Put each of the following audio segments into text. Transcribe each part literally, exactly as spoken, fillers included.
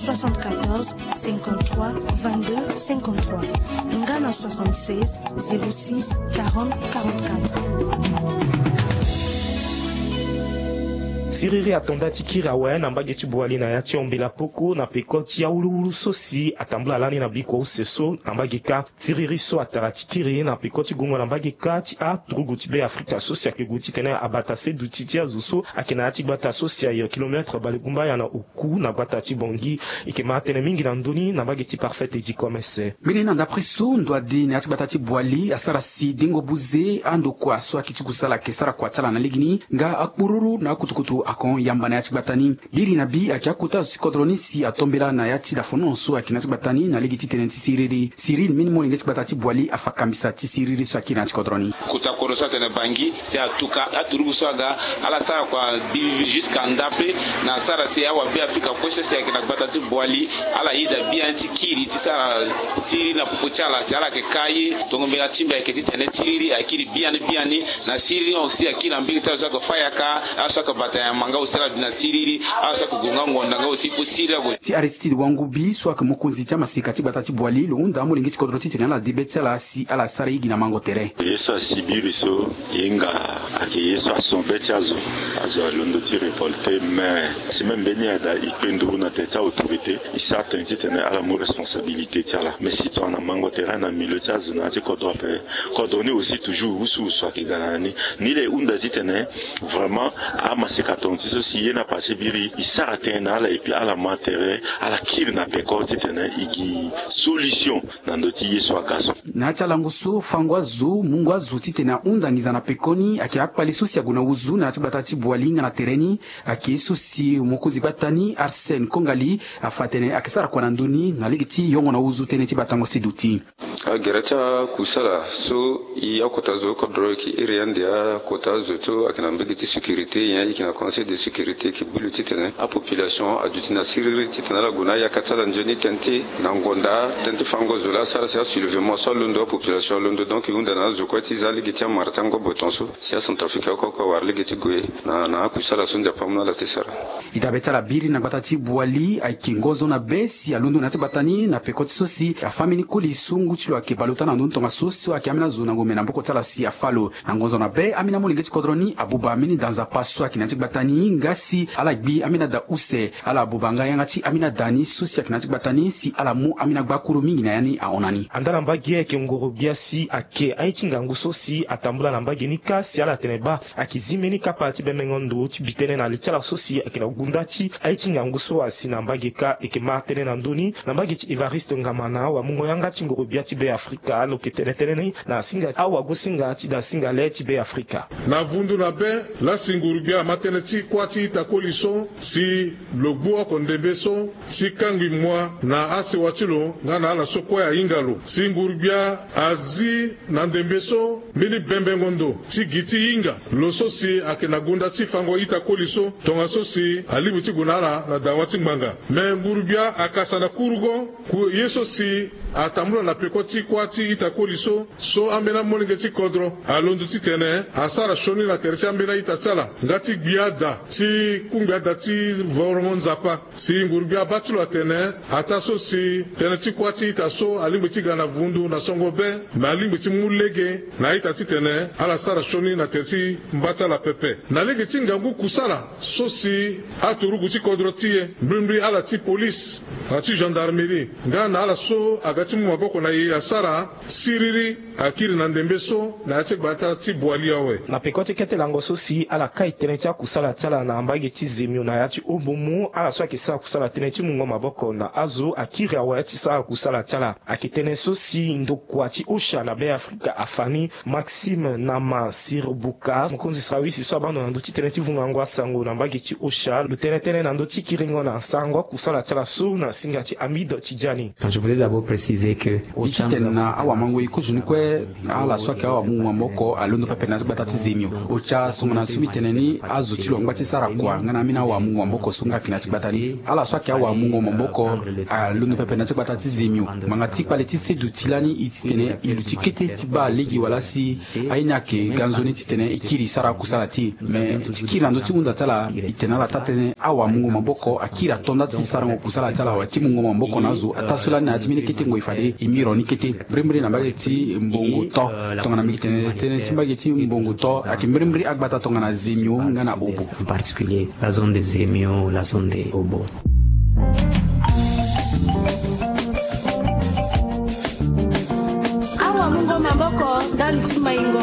soixante-quatorze, cinquante-trois, vingt-deux, cinquante-trois, nga na soixante-seize, zéro six, quarante, quarante-quatre. Siriri atonda ti kiri awe na mbage ti Boali na ya ti ombela poko na peko ti awuluwulu so si atambula lani na bikua use so na mbage kâ. Siriri so atara ti kiri na peko ti gongo na mbage kâ ti aturugu ti Be Afrika so si ayeke gue titene abata se duti ti azo so ayeke na ya ti gbata so si ayo kilometre balegumbaya na oku na gbata ti Bongi. Eke ma tënë mingi na ndö ni na mbage ti Parfait Teddy Commerce. Mbeni na ndapre so ndo adi na ya ti gbata ti Boali asara si dengo buze andokua so ayeke ti kusala ayeke sara kua ti ala na legeni nga akpururu na akutukutu ahon yamba na ya ti gbata ni. Biri na bi ayeke akota zo ti kodro ni si atombela na ya ti dafono so ayeke na ya ti gbata ni na lege ti tënë ti siriri. Siriri mbeni molenge ti gbata ti Boali afa kambisa ti siriri so ayeke na ya ti kodro ni. Kota kodro so atene Bangi si atuka aturugu so aga ala sara kua bibibi jusqu'à ndapre na asara si awa Be Afrika kue so si ayeke na gbata ti Boali ala yeda biani ti kiri ti sara siriri na popo ti ala si ala yeke ka ye. Tongo mbela ti mbi ayeke titene siriri akiri biani biani na siriri hon si akiri na mbege ti azo so ayeke fâ yaka, azo so ayeke bata nyama nga aussi ala bi na siriri, azo so ayeke gue nga ngonda nga aussi kue siriri ague. Ti Aristide Wangubi so ayeke mokonzi ti amaseka ti gbata ti Boali lo hunda amolenge ti kodro titene ala de be ti ala si ala sara ye gi na mango tere. Ye so asi biri so e hinga ayeke ye so ahon be ti azo. Azo alondo ti révolter mais semaine mbeni ada e kpe nduru na tere ti autorité e sara tënë titene ala mu responsabilité ti ala mais si tongana mango tere na milieu ti azo na ya ti kodro ape. Kodro ni aussi toujours wusuwusu ayeke ga na ya ni. Ni laa e hunda titene vraiment amaseka tonga ti so si ye na pase biri e sara tënë na ala et puis ala ma tere ala kiri na peko titene e gi solution na ndö ti ye so aga so. Na ya ti alango so fango azo mungo azo titene ahunda nginza na pekoni ayeke akpali so si ague na wuzu na ya ti gbata ti Boali nga na tere ni. Ayeke ye so si mokonzi gbata ni Arsène Kongali afa atene ayeke sara kua na ndö ni na lege ti yongo na wuzu tënë ti batango seduti. Agere ti akusala so e akota zo kodro e yeke iri ande akota zo so ayeke na mbege ti sécurité nyen e yeke na conseil de sécurité e yeke bi lo titene apopulation aduti na siriri titene ala gue na ayaka ti ala nzoni tënë ti na ngonda tënë ti fango zo laa asara si asoulèvement so alondo apopulation alondo donc e hunda na azo kue ti za lege ti amara ti angobo tongaso si acentrafricain oko oko awara lege ti gue na na akusala so nzapa amu na ala ti sara. E dabe ti ala biri na gbata ti Boali ayeke ngonzo na be si alondo na ya ti gbata ni na peko ti so si afâ mbeni koli so ngu ti lo ayeke bale ota na ndö ni tongaso so ayeke ambeni azo na ngombe na maboko ti ala si afâ lo. Na ngonzo na be ambeni amolenge ti kodro ni abuba ambeni da nzapa so ayeke na ya ti gbata ni nga si ala gbi ambeni ada use. Ala buba nga yanga ti ambeni ada ni so si ayeke na ya ti gbata ni si ala mu ambeni agbakuru mingi na ya ni ahon na ni. Andaa na mbage ayeke ngorogbia si ayeke aye ti ngangu so si atambula na mbage ni kâ si ala tene baa ayeke zi mbeni kapa ti bembengo ndo ti bi tënë na li ti ala so si ayeke na gunda ti aye ti ngangu so asi na mbage kâ. Eke ma tënë na ndö ni na mbage ti Evariste Ngamana wamungo yanga ti ngorogbia ti Be Afrika lo yeke tene tënë ni na singa awagosinga ti da singa le ti Be Afrika. Na vundu na be laa si nguru-gbia ama tënë ti kuâ ti ita koli so si lo gbu oko ndembe so si kangbi mua na asewa ti lo nga na ala so kue ahinga lo si nguru-gbia azi na ndembe so mbeni bembengo ndo ti gi ti hinga lo so si ayeke na gunda ti fango ita koli so tongaso si alingbi ti gue na ala na dawa ti ngbanga. Me nguru-gbia akasa na kurugo ku ye so si atambula na peko ti kuâ ti ita koli so so ambeni amolenge ti kodro alondo titene asara sioni na tere ti ambeni a-ita ti ala nga ti gbi ada ti kungbi ada ti vorongo nzapa. Si nguru-gbia abaa ti lo atene ataa so si tënë ti kuâ ti ita so alingbi ti ga na vundu na songo be me alingbi ti mu lege na a-ita titene ala sara sioni na tere ti mba ti ala pepe na lege ti ngangu kusala so si aturugu ti kodro ti e mbrimbri ala ti polise na ti gendarmerie nga na ala so aga ti mu maboko na e asara siriri akiri na ndembe so na ya ti gbata ti Boali awe. Na peko ti kete lango so si ala kai tënë ti akusala ti ala na mbage ti Zemio na ya ti Obomo ala so ayeke sara kusala tënë ti mungo maboko na azo akiri awe ti sara kusala ti ala. Ayeke tënë so si ndokua ti Osha na Be Afrika afa ni, Maxime Nama Sirbuka, mokonzi sara wisi so abaa ndo na ndö ti tënë ti vungango asango na mbage ti Osha lo tene tënë na ndö ti kiringo na sarango akusala ti ala so na singa ti Hamid Tidjani. Je voulais d'abord préciser Disait que au ti tene na awamango ye kozoni kue. Ala so ayeke awamungo maboko alondo pepe na ya ti gbata ti zemio. Otia songo na so mbi tene ni azo ti lo angba ti sara kua nga na ambeni awamungo maboko so nga ayeke na ya ti gbata ni. Ala so ayeke awamungo maboko alondo pepe na ya ti gbata ti zemio. Ngbanga ti kpale ti seduti lani e ti tene e luti kete ti baa lege wala si aye ni ayeke ga nzoni ti tene e kiri e sara akusala ti e. Me ti kiri na ndö ti hunda ti ala e tene ala taa tënë awamungo maboko akiri ato nda ti sarango kusala ti ala awe ti mungo maboko na azo ataa so lani na ya ti mbeni kete ngoi fade e miro ni kete. Mbirimbiri na mbage ti mbongo to tongana mbi yeke tene tënë ti mbage ti mbongo to ayeke mbirimbiri agbata tongana zemio nga na obo. En particulier la zone de zemio, la zone de obo. Awamungo maboko ndali ti maingo.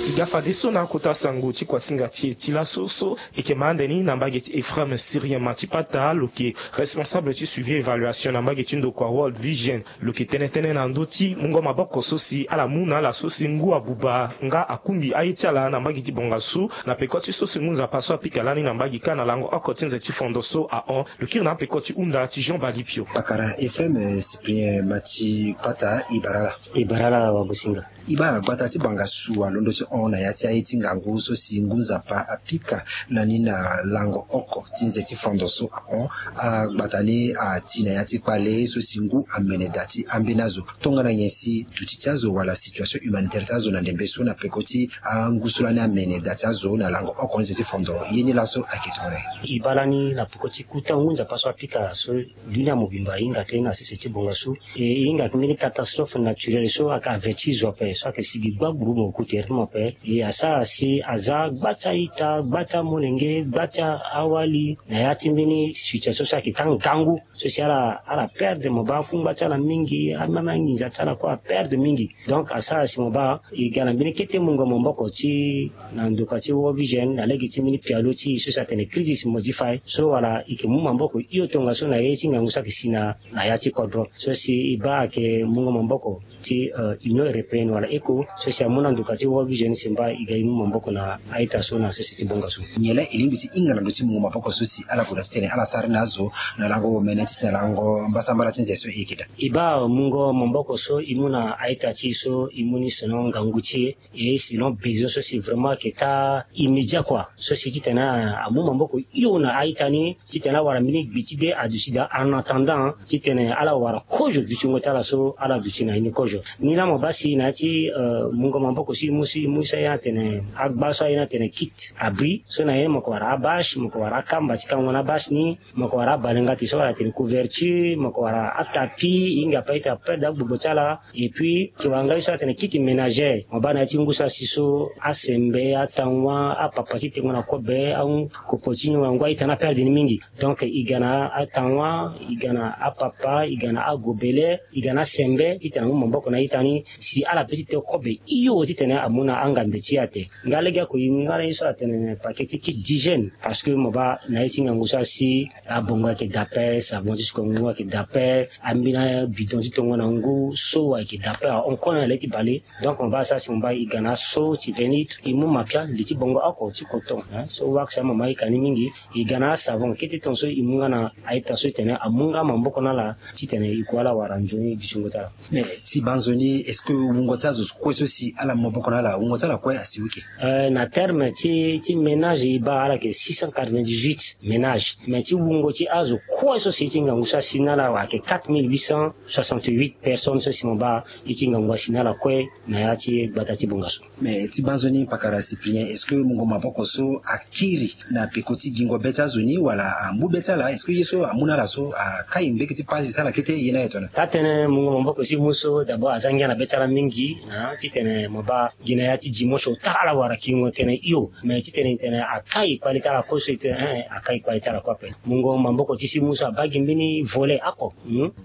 E ga fadeso na akota sango ti kuasinga ti e ti laso so e yeke ma ande ni na mbage ti Ephraim Syrien Matipata lo yeke responsable ti suivi évaluation na mbage ti ndokua World Vision. Lo yeke tene tënë na ndö ti mungo maboko so si ala mu na ala so si ngu abuba nga akungbi aye ti ala na mbage ti bongasu na peko ti so si ngu nzapa so apika lani na mbage kâ na lango oko ti nze ti fondo so ahon. Lo kiri na apeko ti hunda ti Jean Balipio. Pakara Ephraim Cyprien Matipata, e bara ala. E bara ala wagosinga. E baa gbata ti bongasu alondo ti hon na ya ti aye ti ngangu so si ngu nzapa apika lani na lango oko ti nze ti fondo so ahon. Agbata ni ati na ya ti kpale so si ngu amene da ti ambeni azo tongana nyen si duti ti azo wala situation humanitaire ti azo na ndembe so na peko ti angu so lani amene da ti azo na lango oko nze ti fondo ye ni laso ayeke tongana nyen? E baa lani na peko ti kuta ngu nzapa so apika so dunia mobimba ahinga tënë na sese ti bongasu. E e hinga mbeni catastrophe naturelle so ayeke averti zo ape so ayeke sigi gba gburugburu mo ku tere ti mo ape. E asara si aza gba ti a-ita, gba ti amolenge, gba ti awali na ya ti mbeni situation so ayeke taa ngangu so si ala ala perdre mo baa akungba ti ala mingi, ameme anginza ti ala kue aperdre mingi. Donc asara si mo baa e ga na mbeni kete mungo maboko ti na ndoka ti World Vision na lege ti mbeni pialo ti e so si atene crisis modify so wala e yeke mu maboko hio tongaso na ye ti ngangu so ayeke si na na ya ti kodro so si e baa ayeke mungo maboko ti Union Européenne wala ECHO so si amu na ndoka ti World Vision si mba e ga e mu maboko na a-ita so na sese ti bongasu. Nyen laa e lingbi ti hinga na ndö ti mungo maboko so si ala gue na titene ala sara ni na azo na lango omene ti si na lango mbasambala ti nze so e yeke daa? E baa mungo maboko so e mu na a-ita ti e so e mu ni selon ngangu ti e. Et selon besoin so si vraiment ayeke taa immédiat kua so si titene amu maboko hio na a-ita ni titene awara mbeni gbi ti de aduti daa en attendant titene ala wara kozo dutingo ti ala so ala duti na ye ni kozo. Ni laa mo baa si na ya ti mungo maboko so e mu so e mu so aye ni atene agba so aye ni atene kit abri so na ye ni mo yeke wara abâche, mo yeke wara akamba ti kango na abâche ni, mo yeke wara abalengati so ala tene couverture, mo yeke wara atapi e hinga ape a-ita aperde agbogbo ti ala. Et puis e yeke wara nga ye so atene kit ménagère mo baa na ya ti ngu so asi so asembe, atanwa, apapa ti tengo na kobe, akopo ti nyongo na ngu a-ita ni aperde ni mingi. Donc e ga na atanwa, e ga na apapa, e ga na agobele, e ga na asembe titene amu maboko na a-ita ni si ala pe ti te kobe hio titene amu na angambe ti e ate. Nga lege oko e mu nga na ye so atene paquet ti kit d'hygiène parce que mo baa na ye ti ngangu so asi abongo ayeke da ape, savon ti sukongo ngu ayeke da ape, ambeni abidon ti tongo na ngu so ayeke da ape ahon kue na le ti bale. Donc mo baa asara si mo baa e ga na aso ti vingt litres e mu mapia li ti bongo oko ti coton so wax ama ma e ka ni mingi. E ga na asavon kete tongaso e mu nga na a-ita so e tene amu nga maboko na ala titene e ku ala wara nzoni dutingo ti ala. Mais ti baa nzoni est-ce que wungo ti azo kue so si ala mu maboko na ala wungo ti ala kue asi wike? Na terme ti ti ménage e baa ala yeke six cent quatre-vingt-dix-huit ménage. Mais ti wungo ti azo kue so si ye ti ngangu so asi na ala ayeke quatre mille huit cent soixante-huit personnes so si mo baa ye ti ngangu asi na ala kue na ya ti gbata ti bongasu. Mais ti baa nzoni pakara Cyprien, est-ce que mungo maboko so akiri na peko ti gingo be ti azo ni wala ambu be ti ala? Est-ce que ye so amu na ala so akai mbege ti pasi ti ala kete ye ni aye tongana? Taa tënë mungo maboko so e mu so d'abord aza ngia na be ti ala mingi titene mo baa gi na ya ti dimanche ota ala wara kiringo tënë hio. Mais titene e tene akai kpale ti ala kue so e tene akai kpale ti ala kue ape. Mungo maboko ti so e mu so abaa gi mbeni volet oko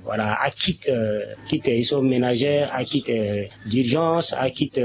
wala akit kit ye so ménagère, akit d'urgence, akit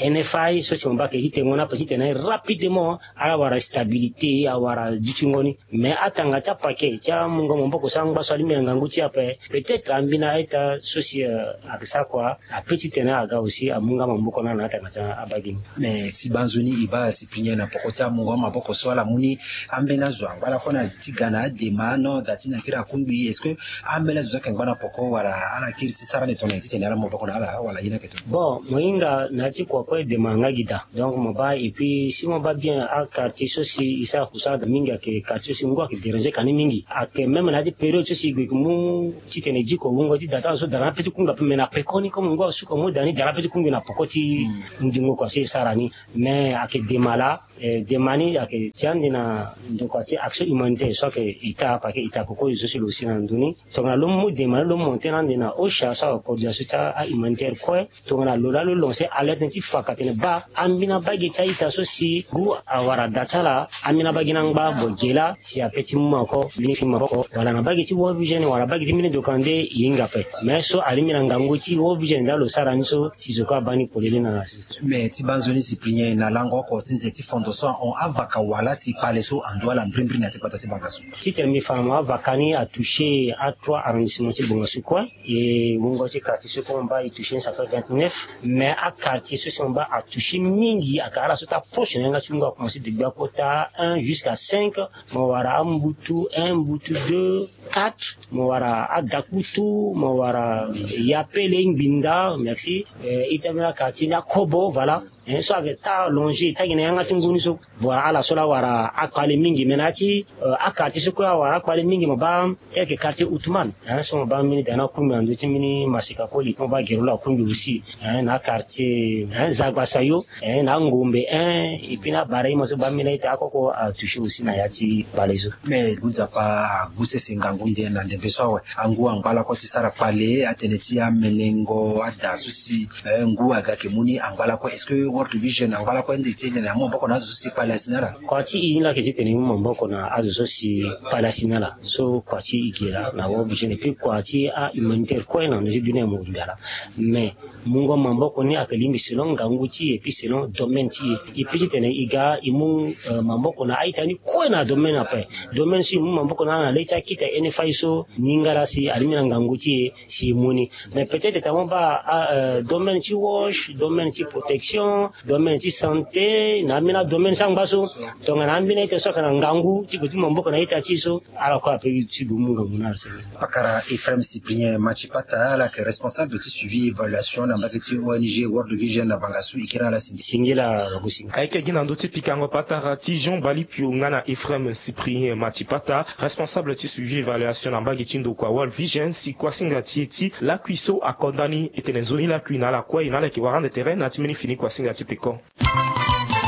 NFI so si mo baa ayeke ti tengo ni ape titene rapidement ala wara stabilité awara dutingo ni. Mais atanga ti apaquet ti amungo maboko so angba so alingbi na ngangu ti e ape peut-être ambeni a-ita so si ayeke sara kua ape titene aga aussi amu nga maboko na ala na atanga ti abagi ni. Mais ti banzoni e baa Cyprien na poko ti amungo amaboko so ala mu ni, ambeni azo angba lakue na ti ga na adema no da ti na kiri akungbi? Est-ce que ambeni azo so ayeke ngba na poko wala ala kiri ti sara ni tongana ye titene ala mu maboko na ala wala ye ni ayeke tongana? Bon, mo hinga na ya ti kua kue dema nga gi daa. Donc mo baa, et puis si mo baa bien aquartier so si e sara kusala daa mingi ayeke quartier so si ngu ayeke déranger ka ni mingi. Ayeke même na ya ti période so si e gue e ke mu titene e diko wungo ti da ti ala so da na ape ti kungbi ape, mais na pekoni comme ngu asuka mu da ni da na ape ti kungbi na poko ti ndingo kua so e sara ni. Mais ayeke dema laa, eh, dema ni ayeke ti ande na ndokua ti action humanitaire so ayeke état, parce que état koko zo so si lo si na ndo ni. Tongana lo mu dema ni lo monte na ande na OCHA so ayeke coordination ti ahumanitaire kue. Tongana lo laa lo lancer alerte ni ti fa ka tene baa ambeni abage ti a-ita so si ngu awara da ti ala, ambeni abage ni angba gue ge laa si ape ti mu maboko, mbeni fi maboko wala na bage ti World Vision wala bage ti mbeni doka nde e hinga ape. Mais so alingbi na ngangu ti World Vision nda lo sara ni so si zo kue abaa ni polele na. Mais ti banzoni Cyprien, na lango oko ti nze ti fondation ahon avaka wala si kpale so ando ala mbrimbri na ya ti kpata ti banga so? Titene mbi fa na mo, avaka ni atoucher atrois arrondissement ti bonga so kue. E wungo ti quartier so kue mo baa e toucher ni, ça fait vingt-neuf. Mais aquartier so si mo baa atoucher mingi ayeke ala so ti aproche na yanga ti wungo, akomanse degbe akota un jusqu'à cinq. Mo wara ambutu un, mbutu deux, quatre. Mo wara adakputu, mo wara yapele, ngbinda, merci. Eh, ita mbeni aquartier ni akobo, voilà. Eh, so ayeke ta allongé, ta gi na yanga ti ngu ni so. Voilà, ala so laa awara akpale mingi. Mais na ya ti, eh, aquartier so kue awara akpale mingi, mo baa quelques quartiers Outman, hein, so mo baa mbeni da ni akungbi na ndö ti mbeni maseka koli, mo baa gere lo akungbi aussi, hein, na quartier, hein, Zagbasayo, hein, na Ngombe, hein, et puis na Baraima so baa mbeni a-ita akoko atoucher aussi na ya ti kpale so. Mais ngu nzapa agu sese ngangu nde na ndembe so awe. Angu angba lakue ti sara kpale, atene ti amenengo ada so si, eh, ngu aga ayeke mu ni angba lakue. Est-ce que World Vision angba lakue ande ti e tene amu maboko na azo so si kpale asi na ala? Kua ti e ni laa ayeke titene e mu maboko na azo so si kpale asi na ala. So kua ti e ge laa na World Vision, et puis kua ti ahumanitaire kue na ndö ti dunia mobimba laa. Mais mungo maboko ni ayeke lingbi selon ngangu ti e, et puis selon domaine ti e. E peut titene e ga e mu, eh, maboko na a-ita ni kue na domaine ape. Domaine so e mu maboko na ala na le ti akita NFI so, ningala si alingbi na ngangu ti e si e mu ni. Mais peut-être tongana mo baa, ah, euh, domaine ti WASH, domaine ti protection, domaine ti santé, na ambeni adomaine so angba so, tongana ambeni a-ita so ayeke na ngangu ti gue ti mu maboko na a-ita ti e so, ala kue ape ti gue mu ngangu na ala senge. Pakara Ephraim Cyprien Matipata, ala yeke responsable ti suivi évaluation na mbage ti ONG World Vision na banga so, e kiri na ala singila. Singila, bagu singila. Ayeke gi na ndö ti pikango patara ti Jean Balipio nga na Ephraim Cyprien Matipata, responsable ti suivi évaluation na mbage ti ndokua World Vision, si kuasinga ti e ti lakui so akonda ni, e tene nzoni lakui na ala kue, e na ala yeke wara ande tere na ya ti mbeni fini kuasinga ti peko.